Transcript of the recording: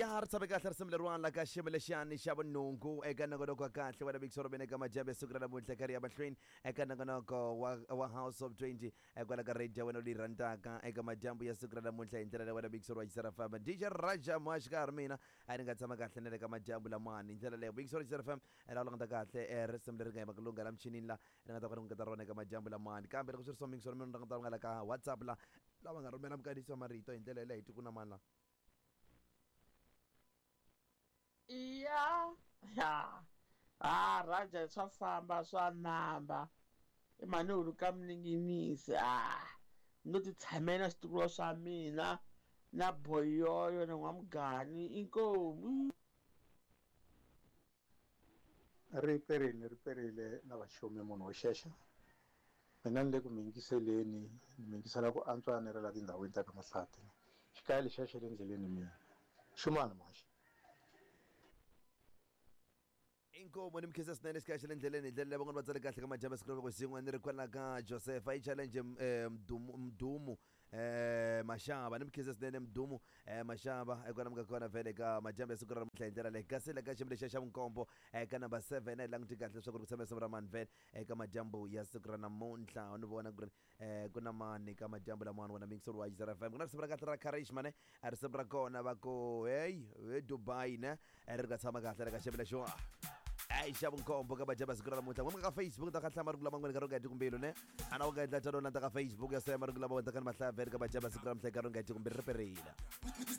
Ya ri tshame kahle risimu leriwani la ka xiyimo lexiyani xa vunhungu eka nongonoko wa kahle wa Big Sorobeni eka madyambu ya siku ra namuntlha karhi ya mahlweni eka nongonoko wa House of 20 kwala ka radio ya wena leyi rhandzaka eka madyambu ya siku ra namuntlha hi ndlela leyi wena Big Soro wa Xisera FM DJ Raja Moaxikarhi mina a ni nga tshama kahle na le ka madyambu lamani hi ndlela leyo Big Soro Xisera FM laha u languta kahle risimu leri nga yima ku lungha la michinini la ri nga ta kota ku nyiketa rona eka madyambu lamani kambe loko swi ri so Big Soro mina ni languta nga la ka WhatsApp la lava nga rhumela minkandziyiso ya marito hi ndlela yeleyo hi tiku na mani la. Iya ya ha Raja swa famba swa namba i mhani hulu ka mininginisi a no ti tshamela switukulo swa mina na boyoyo na n'wamugani inkomu. Ri perile ri perile na vaxumi munhu wo xexa mina ni le ku mi yingiseleni ni mi yingisela ku antswa ni ri la tindhawini ta ka Mahlati xikaya lexiya xa le ndleleni mina xumani muhaxi. Inkomu ni mi khensa swinene xikaya xa le ndleleni hi ndlela leyi van'wana va tsale kahle ka madyambu ya siku ra loko xin'we ni ri kwala ka Josefa yi challenge Mdumu Mdumu Mashava ni mi khensa swinene Mdumu Mashava kwala mi nga kona vhele ka madyambu ya siku ra namuntlha hi ndlela leyi kasi le ka xiyimo lexiya xa vunkombo ka number 7 a hi languti kahle leswaku ri ku tshama risimu ra mani vhele eka madyambu ya siku ra namuntlha ni vona ku ri ku na mani ka madyambu lamawani wena mixer wa Yizera FM ku na risimu ra kahle ra Karishma ne a risimu ra kona va ku hey he Dubai ne ri nga tshama kahle le ka xiyimo lexiwa ayi xa vunkombo ka madyambu ya siku ra namuntlha n'we ka Facebook ta ka hlaya marungulo man'wana ka ronga tikumbilu ne ana u nga endla tano na ta ka Facebook ya saya marungulo lama wendlaka ni mahlaya vhele ka madyambu ya siku ra namuntlha ka ronga tikumbilu ri perile.